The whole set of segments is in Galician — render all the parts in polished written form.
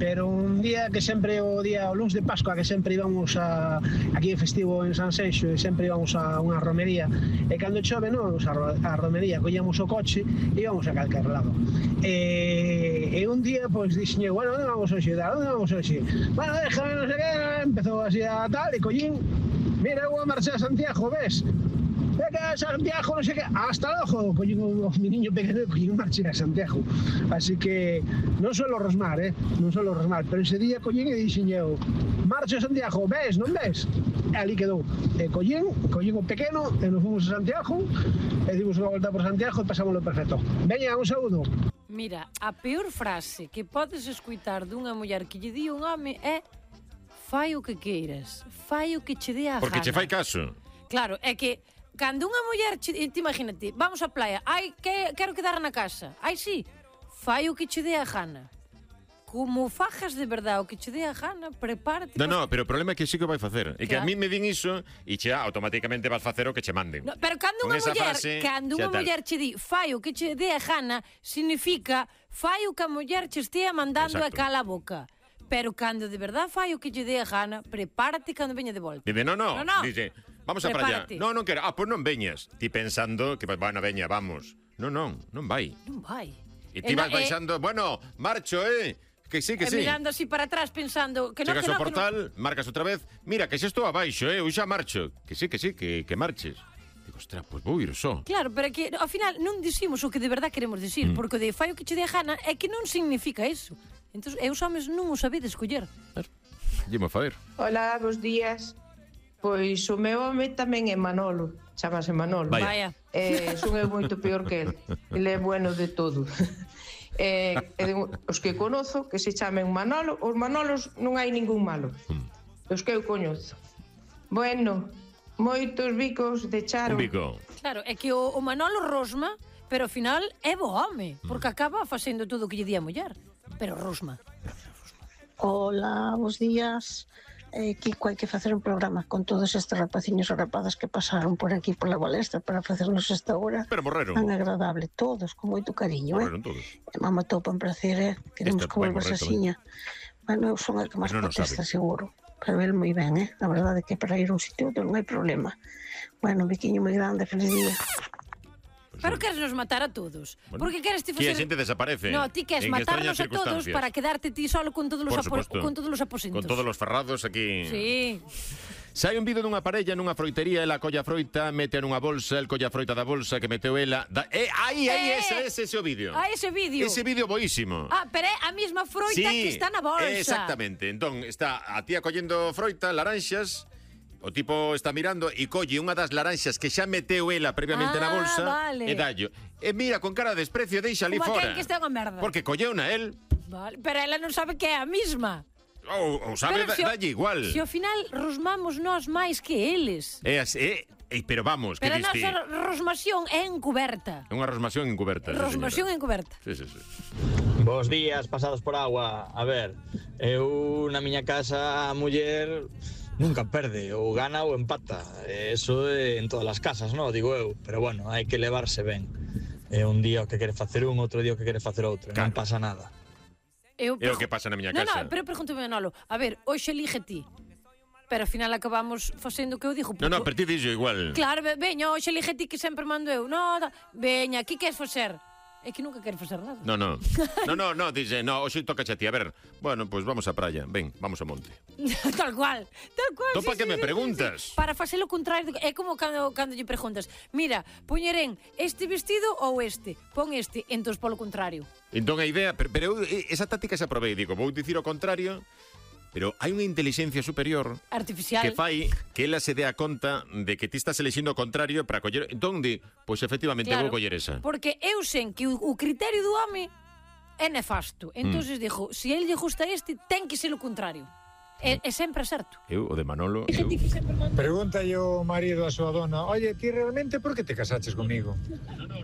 pero un día que sempre o luns de Pascua, que sempre íbamos aquí en festivo en San Seixo, e sempre íbamos a unha romería, e cando chove non íbamos a romería, collíamos o coche e íbamos a calquer lado. E un día, pois, dixen, bueno, onde vamos hoxe? Bueno, déjame, non sei que, empezou así a tal, e collín, mira, eu a marcha a Santiago, ves? Venga, Santiago, non sei que, hasta logo, collín o niño pequeno, collín marcha a Santiago. Así que non solo rosmar, pero ese día collín e dixen eu, marcha a Santiago, ves, non ves? E ali quedou. E collín o pequeno, e nos fomos a Santiago, e dimos unha volta por Santiago e pasámoslo perfecto. Veña, un saúdo. Mira, a peor frase que podes escutar dunha muller que lle di un home é fai o que queiras, fai o que che dé a gana. Porque che fai caso. Claro, é que cando unha muller, te imagínate, vamos á playa, quero quedar na casa, sí, fai o que che dé a gana. Como fajas de verdade o que che dé a gana, prepárate. No, pero o problema é que sí que vai facer. E que a mí me din iso e che automáticamente vas facer o que che manden. No, pero cando unha muller che di fai o que che dé a gana, significa fai o que a muller che estea mandando e cala a boca. Pero cando de verdade fai o que lle dé a gana, prepárate cando veña de volta. Dice, no. Dice, vamos a praia. Non quero. Pois non veñas. Ti pensando que, bueno, veña, vamos. Non vai. Non vai. E ti vas baixando, bueno, marcho, Que sí. Mirando así para atrás pensando que non, chegas ao portal, marcas outra vez, mira, que xa estou abaixo, eu xa marcho. Que sí, que marches. Digo, ostras, pois vou ir só. Claro, pero que ao final non dicimos o que de verdade queremos dicir, porque o de fai o que che dé a gana é que non significa eso. Entón, os homes non o sabedes escoller. Dime a fazer. Hola, bons días. Pois o meu home tamén é Manolo, chamase Manolo. Vaya. Son eu moito peor que ele. Ele é bueno de todo. Os que conozo que se chamen Manolo, os Manolos non hai ningún malo. Os que eu coñezo. Bueno, moitos bicos de Charo. Un bico. Claro, é que o Manolo rosma, pero ao final é bo home, porque acaba facendo todo o que lle di a muller. Pero rosma. Hola, bons días. Kiko, hai que facer un programa con todos estes rapaciños ou rapadas que pasaron por aquí pola balestra para facernos esta hora pero morreron tan agradable, todos con moito cariño, morreron todos. Mamá topa en placer, queremos que volvas asiña. Bueno, eu son a que máis protesta, seguro, pero ele moi ben, a verdade é que para ir a un sitio non hai problema. Bueno, un biquiño moi grande, feliz día. Pero queres nos matar a todos. Bueno, porque queres ti facer... Que a xente desaparece. No, ti queres matarnos a todos para quedarte ti solo con todos os aposentos. Con todos os ferrados aquí. Sí. Sai un vídeo dunha parella nunha froitería, ela colla froita, mete nunha bolsa, el colla froita da bolsa que meteu ela. Ese o vídeo. Ese vídeo. Ese vídeo boísimo. Pero é a mesma froita que está na bolsa. Exactamente. Entón, está a tía collendo froita, laranxas. O tipo está mirando e colle unha das laranxas que xa meteu ela previamente na bolsa, vale. E dallo. E mira con cara de desprecio, deixa ali fora. Como que está unha merda. Porque colleu na el. Vale, pero ela non sabe que é a mesma. Ou sabe, dalle igual. Se ao final rosmamos nós máis que eles. Pero vamos, pero que diste? Pero a nosa rosmación é encuberta. É unha rosmación encuberta. Rosmación encuberta. Sí. Bos días, pasados por agua. A ver, eu na miña casa a muller nunca perde, ou gana ou empata. Eso é en todas as casas, non? Digo eu. Pero bueno, hai que levarse ben. Un día o que quere facer un, outro día o que quere facer outro. Non pasa nada. É o que pasa na miña casa. Non, pero pregúntame, Manolo. A ver, hoxe elige ti. Pero ao final acabamos facendo o que eu digo. Non, pero ti dixo igual. Claro, veña, hoxe elige ti que sempre mando eu. Veña, aquí queres facer? É que nunca quero facer nada. No, dice, hoxe toca a ti. A ver, bueno, pois vamos á praia. Ven, vamos ao monte. Tal cual. Topa que me preguntas. Para facer o contrario, é como cando lle preguntas, mira, poñerén este vestido ou este? Pon este, entón polo contrario. Entón a idea, pero esa táctica se aprobei, digo, vou dicir o contrario. Pero hai unha inteligencia superior artificial que fai que ela se dea conta de que ti estás elixindo o contrario para coller. Entón, pois efectivamente vou coller esa. Porque eu sei que o criterio do home é nefasto. Entonces dixo, se el lle gusta este, ten que ser o contrario. É sempre certo. Eu, o de Manolo... Pregunta yo marido a súa dona, oye, ti realmente por que te casaches comigo?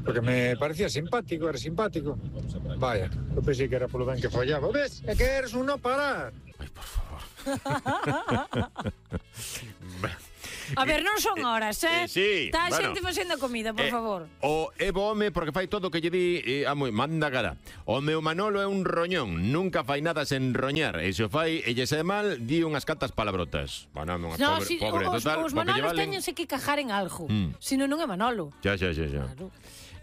Porque me parecía simpático, era simpático. Vaya, eu pensei que era polo ben que follaba. Ves? É que eres un no parar. Ai, por favor. A ver, non son horas, Sí, está a xente facendo comida, por favor. O Evo home, porque fai todo o que lle di manda cara. O meu Manolo é un roñón, nunca fai nada sen roñar. E se o fai e lle sae mal, di unhas cantas palabrotas. Bueno, pobre, total. Os Manolos teñense que cajar en algo, senón non é Manolo. Xa. Claro.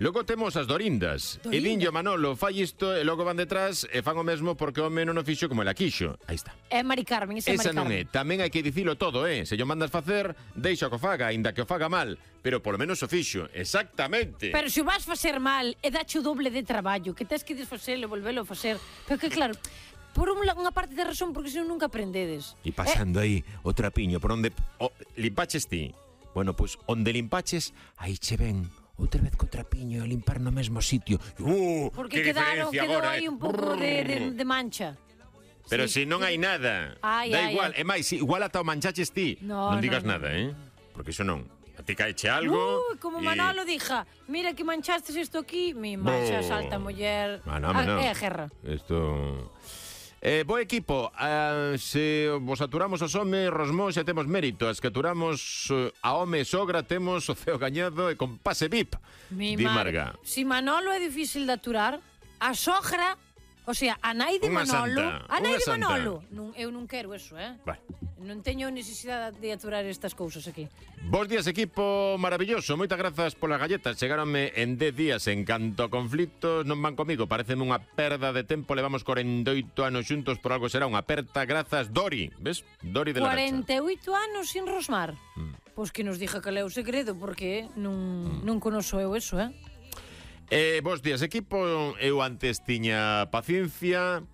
Logo temos as Dorindas. E dinlle Manolo, fai isto e logo van detrás e fan o mesmo porque o home non o fixo como ela quixo. Aí está. É Mari Carmen, esa Mari Carmen. Non é. Tamén hai que dicilo todo, Se yo mandas facer, deixa que o faga, aínda que o faga mal. Pero polo menos o fixo. Exactamente. Pero se o vas facer mal e dache o doble de traballo, que tens que desfacelo e volvelo a facer. Pero que claro, por unha parte de razón, porque senón nunca aprendedes. E pasando aí o trapiño por onde limpaches ti. Bueno, pois onde limpaches, aí che ven outra vez co trapiño e limpar no mesmo sitio. Porque quedou aí un pouco de mancha. Pero se non hai nada, da igual. É máis, igual ata o manchaches ti. Non digas nada, porque iso non. A ti caeche algo. Como Manolo dija, mira que manchastes isto aquí, mi mancha, salta muller. É a guerra. Isto... bo equipo, se vos aturamos os homes, Rosmón, xa temos mérito. As que aturamos a home e sogra, temos o ceo gañado e con pase VIP. Mi Marga. Si Manolo é difícil de aturar, a sogra, o sea, a nai de Manolo... A nai de Manolo. Eu non quero eso, Vale. Non teño necesidade de aturar estas cousas aquí. Bos días, equipo maravilloso. Moitas grazas polas galletas. Chegáronme en 10 días en canto a conflitos. Non van comigo, pareceme unha perda de tempo. Levamos 48 anos xuntos, por algo será unha aperta. Grazas, Dori. Ves? Dori de la 48 anos sin Rosmar. Pois que nos dixa que é o segredo, porque non conoso eu eso, Bos días, equipo. Eu antes tiña paciencia...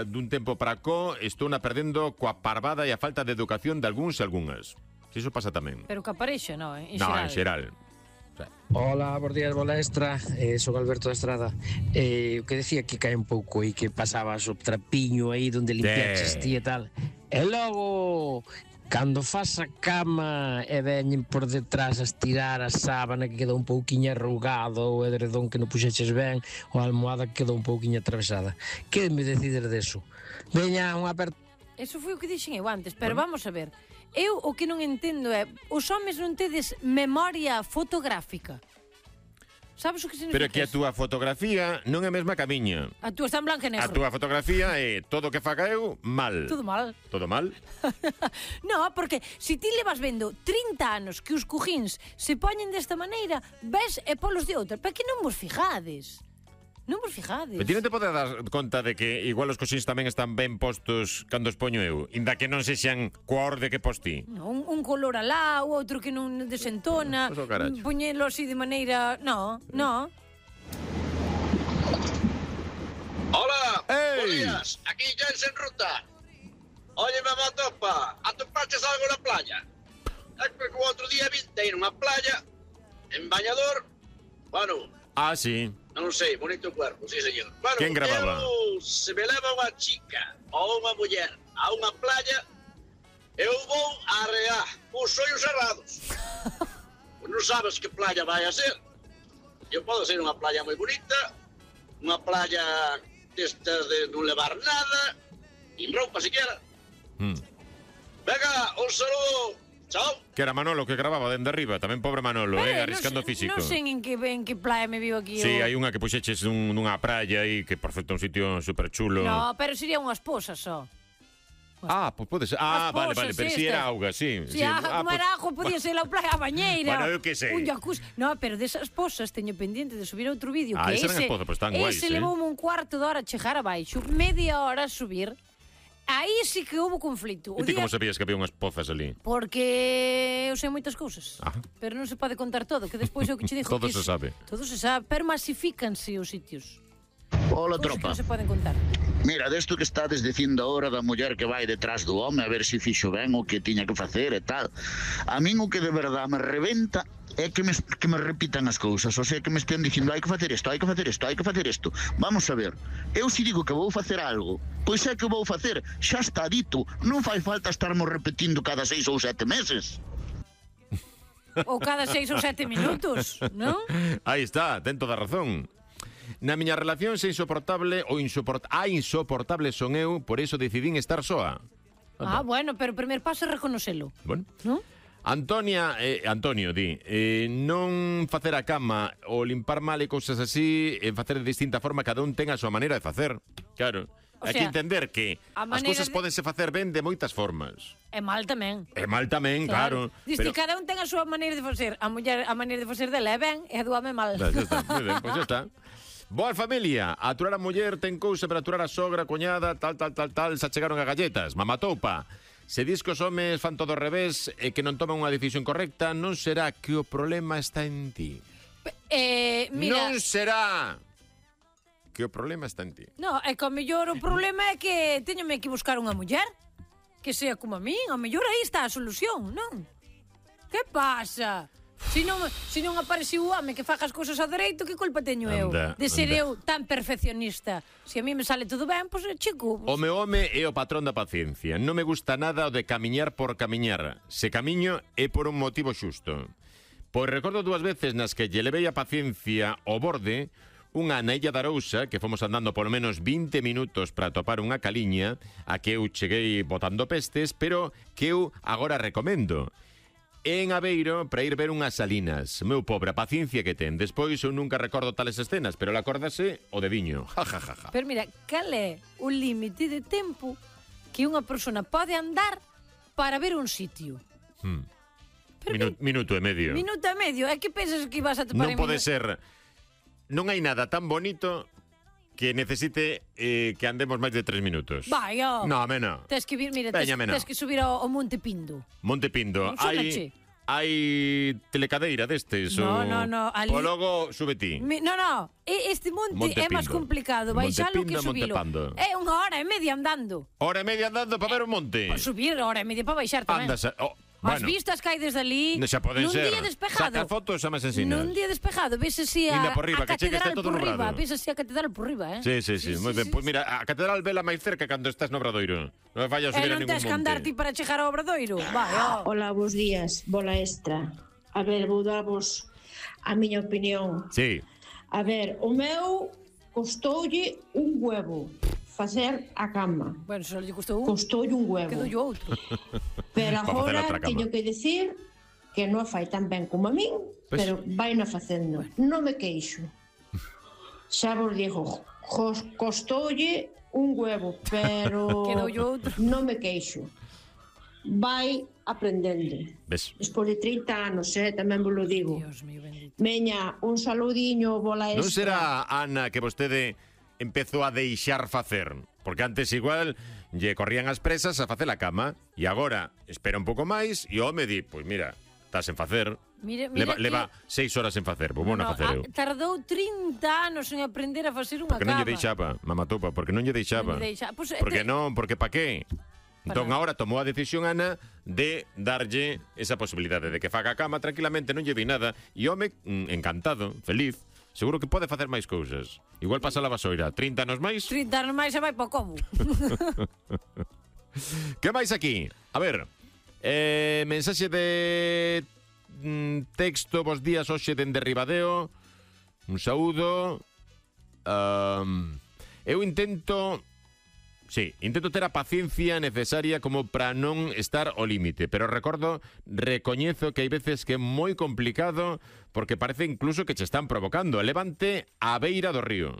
dun tempo para có estou na perdendo coa parvada e a falta de educación de algúns e algunhas. Se iso pasa tamén. Pero que aparexe, non? En xeral. Hola, bos días, bola extra. Son Alberto da Estrada. O que decía que cae un pouco e que pasabas o trapiño aí donde limpiaches ti e tal. E logo... Cando fas a cama e veñen por detrás a estirar a sábana que quedou un pouquiño arrugado, o edredón que non puxeches ben, ou a almohada que quedou un pouquiño atravesada. Que me decides deso? Veña, unha aperta... Eso foi o que dixen eu antes, pero vamos a ver. Eu o que non entendo é, os homes non tedes memoria fotográfica. Sabes o que significa? Pero que a túa fotografía non é a mesma que a miña. A túa está en blanco e negro. A túa fotografía é todo o que faga eu, mal. Todo mal. Todo mal? No, porque se ti levas vendo 30 anos que os cojins se poñen desta maneira, ves e polos de outra, pero que non vos fijades. Non vos fijades. Pero ti non te podes dar conta de que igual os coxins tamén están ben postos cando os poño eu, inda que non sexan coa orde que postí. Un color alá, o outro que non desentona, poñelo así de maneira... No. Hola, bons días, aquí Jensen Ruta. Oye, mamá topa, atopaches algo na playa? É que o outro día vinte nunha playa, en bañador, bueno... Ah, sí. Non sei, bonito cuerpo, sí, señor. Bueno, quen gravaba? Se me leva unha chica ou unha muller a unha playa, eu vou a arrear os ollos cerrados. Pues non sabes que playa vai a ser. Eu podo ser unha playa moi bonita, unha playa destas de non levar nada, nin roupa siquiera. Venga, un saludo. Chao. Que era Manolo que grababa dende arriba, tamén pobre Manolo, arriscando físico. Non sei en que playa me viu aquí. Sí, hai unha que puxeches nunha praia aí, que por certo un sitio super chulo. No, pero sería unha esposa só. Pois pode ser. Vale, pero si era auga, sí. Como era auga, podía ser a playa, a bañeira. Bueno, eu que sei. Un jacuzzi. No, pero desas esposas teño pendiente de subir outro vídeo, que ese levoume un cuarto de hora a chegar abaixo, media hora a subir. Aí sí que houve conflito. E ti como sabías que había unhas pozas ali? Porque eu sei moitas cousas. Pero non se pode contar todo, que despois eu que che digo todo se sabe. Todo se sabe, pero masifícanse os sitios. Hola, tropa. Que non se poden contar. Mira, desto que estades dicindo ahora da muller que vai detrás do home a ver se fixo ben o que tiña que facer e tal. A min o que de verdade me rebenta é que me repitan as cousas, o sea, que me estén dicindo hai que facer isto, hai que facer isto, hai que facer isto. Vamos a ver, eu se digo que vou facer algo, pois é que vou facer, xa está dito, non fai falta estarmos repetindo cada 6 ou 7 meses. Ou cada 6 ou 7 minutos, non? Aí está, ten toda a razón. Na miña relación se insoportable ou insoportable son eu, por iso decidín estar soa. Bueno, pero o primer paso é reconocelo. Bueno. Non? Antonio di, non facer a cama ou limpar mal e cousas así, facer de distinta forma, cada un ten a súa maneira de facer. Claro. Hai que entender que as cousas pódense facer ben de moitas formas. E mal tamén. Claro. Dice que cada un ten a súa maneira de facer. A muller, a maneira de facer dela é ben e a do home mal. Xa está, moi ben, pois xa está. Boa familia, aturar a muller ten cousa para aturar a sogra, cuñada, tal, se chegaron a galletas, mamatoupa. Se dis que os homes fan todo ao revés e que non toman unha decisión correcta, non será que o problema está en ti. Mira... Non será que o problema está en ti. No, é que ao mellor o problema é que teñome que buscar unha muller que sea como a min. Ao mellor aí está a solución, non? Que pasa? Se non apareceu o home que faga as cousas ao dereito, que culpa teño eu de ser eu tan perfeccionista? Se a mí me sale todo ben, pois chico... O meu home é o patrón da paciencia. Non me gusta nada o de camiñar por camiñar. Se camiño é por un motivo xusto. Pois recordo 2 veces nas que lle levei a paciencia ao borde, unha na Illa da Arousa, que fomos andando polo menos 20 minutos para topar unha caliña, a que eu cheguei botando pestes, pero que eu agora recomendo. En Aveiro para ir ver unhas salinas. Meu pobre, a paciencia que ten. Despois eu nunca recordo tales escenas, pero ela acórdase o de viño. Pero mira, cal é o límite de tempo que unha persona pode andar para ver un sitio? Minuto e medio. Minuto e medio? É que pensas que vas a topar non pode ser. Non hai nada tan bonito que necesite que andemos máis de 3 minutos. Vai, ó. No, mena. Tes que vir, mira, tes que subir ao Monte Pindo. Monte Pindo. Hai telecadeira destes? No. Ali... O logo sube ti. No. Este monte é máis complicado. Baixalo que subilo. É 1 hora e media andando. Hora e media andando para ver un monte? Para subir, 1 hora e media para baixar tamén. As vistas que hai desde ali, nun día despejado. Saca fotos xa me ensinas. Nun día despejado, ves así a catedral por riba. Ves así a catedral por riba, Sí, moi ben. Pois mira, a catedral vela máis cerca cando estás no Obradoiro. Non me fallas subir a ningún monte. E non tens que andar ti para chegar ao Obradoiro. Hola, bos días, bola extra. A ver, vou darvos a miña opinión. Sí. A ver, o meu costoulle un huevo facer a cama. Bueno, só lle custou un. Costoulle un huevo. Quedoulle outro. Pero agora teño que decir que non fai tan ben como a min, pero vai na facendo. Non me queixo. Xa vos digo, costoulle un huevo, pero non me queixo. Vai aprendendo. Despois de 30 anos, tamén vos lo digo. Meña, un saludiño, bola extra. Non será, Ana, que vostede empezou a deixar facer? Porque antes igual lle corrían as presas a facer a cama e agora espera un pouco máis e o home di, pois mira, estás en facer. Leva 6 horas en facer, vou na facer eu. Tardou 30 anos en aprender a facer unha cama. Porque non lle deixaba, mamatoupa, porque non lle deixaba. Porque non, porque pa qué? Entón agora tomou a decisión Ana de darlle esa posibilidade de que faga a cama tranquilamente, non lle vi nada e o home encantado, feliz. Seguro que pode facer máis cousas. Igual pasa a vasoira. 30 anos máis? 30 anos máis e vai po como. Que máis aquí? A ver, mensaxe de texto, bos días, hoxe dende Ribadeo. Un saúdo. Eu intento ter a paciencia necesaria como para non estar ao límite, pero recoñezo que hai veces que é moi complicado porque parece incluso que che están provocando. Levante a beira do río.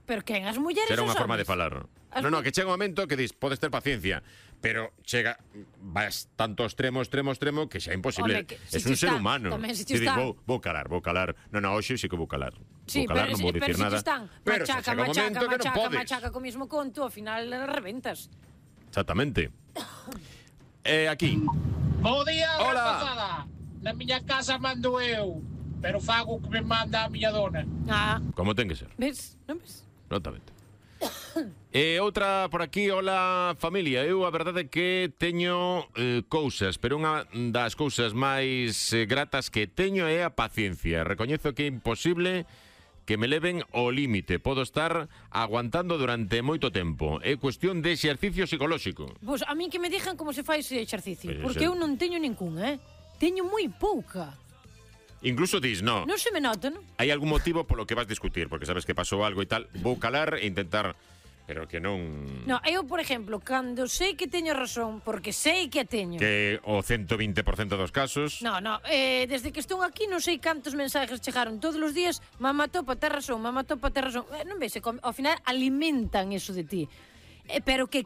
Pero quen as mulleres Será unha forma de falar. Non, que chega un momento que dis, podes ter paciencia, pero vas tanto extremo que xa é imposible. É un ser humano. Vou calar. Non, hoxe sí que vou calar. Sí, vou calar, non vou dicir nada. Pero machaca co mismo conto, ao final reventas. Exactamente. Aquí. Bo día, rapazada. Na miña casa mando eu, pero fago o que me manda a miña dona. Como ten que ser. Ves? Non ves? Notamente. Outra por aquí, hola familia. Eu a verdade é que teño cousas, pero unha das cousas máis gratas que teño é a paciencia. Recoñezo que é imposible que me leven ao límite. Podo estar aguantando durante moito tempo. É cuestión de exercicio psicolóxico. Pois a mí que me dixan como se fai ese exercicio, porque eu non teño ningún, Teño moi pouca. Incluso dis, non se me nota, non? Hai algún motivo polo que vas discutir, porque sabes que pasou algo e tal. Vou calar e intentar Pero que non... No, eu, por exemplo, cando sei que teño razón, porque sei que a teño... Que o 120% dos casos... No, desde que estou aquí non sei cantos mensajes chegaron todos os días, mamá topa, ter razón, mamá topa, ter razón. Non ves, ao final alimentan eso de ti. Pero que